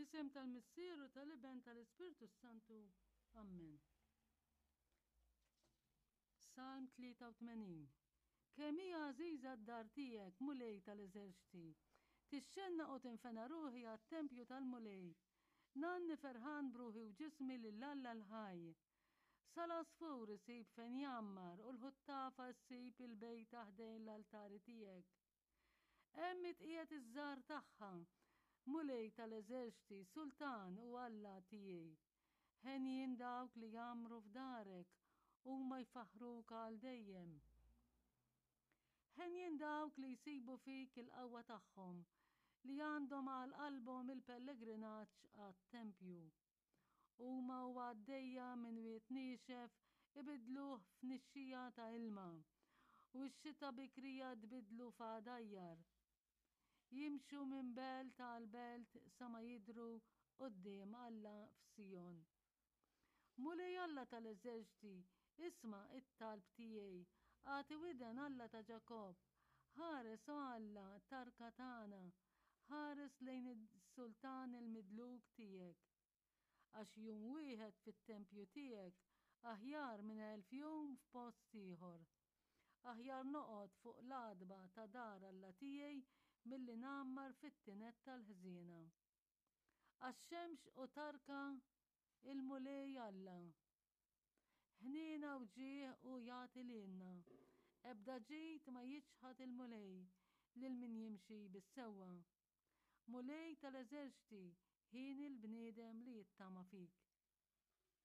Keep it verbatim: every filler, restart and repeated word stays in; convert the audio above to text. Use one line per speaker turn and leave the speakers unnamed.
Fl-isem tal-Missier u tal-Iben tal-Ispirtu Santu. Amen. Salm tlieta u tmenin. Kemm hija għażiża d-dar tiegħek, Mulej tal-eżerċti! Tixxennaq u tinfena ruħi għat-tempju tal-Mulej. Ngħanni ferħan b'ruħi u ġismi lil Alla l-ħaj. Sal-għasfur isib fejn jgħammar u l-ħuttafa ssib il-bejta ħdejn l-altari tiegħek. Hemm itqiegħed iż-żgħar tagħha, Mulej tal-eżerċti, Sultan u Alla tiegħi. Henjin dawk li jgħammru f'darek, huma jfaħruk għal dejjem. Henjin dawk li jsibu fik il-qawwa tagħhom, li għandhom għal qalbhom il-pellegrinaġġ għat-tempju. Huma u għaddejja minn wied niexef ibidluh f'nixxija ta' ilma, u x-xita bikrija tbidlu f'għadajjar. Jimxu minn belt għal belt sa ma jidru quddiem Alla f'Sijon. Mulej Alla tal-eżerċti, isma' it-talb tiegħi, agħti widen, Alla ta' Ġakob, ħares, o Alla, tarka tagħna, ħares lejn is-sultan il-midluk tiegħek. Għax jum wieħed fit-tempju tiegħek aħjar minn elf jum f'post ieħor. Aħjar noqgħod fuq l-għatba ta' dar Alla tiegħi milli ngħammar fit-tined tal-ħżiena. Għax xemx u tarka il-Mulej Alla. Ħniena u ġieħ hu jagħti lilna. Ebda ġid ma jiċħad il-Mulej lil min jimxi bis-sewwa. Mulej tal-eżerċti, ħieni l-bniedem li jittama fik.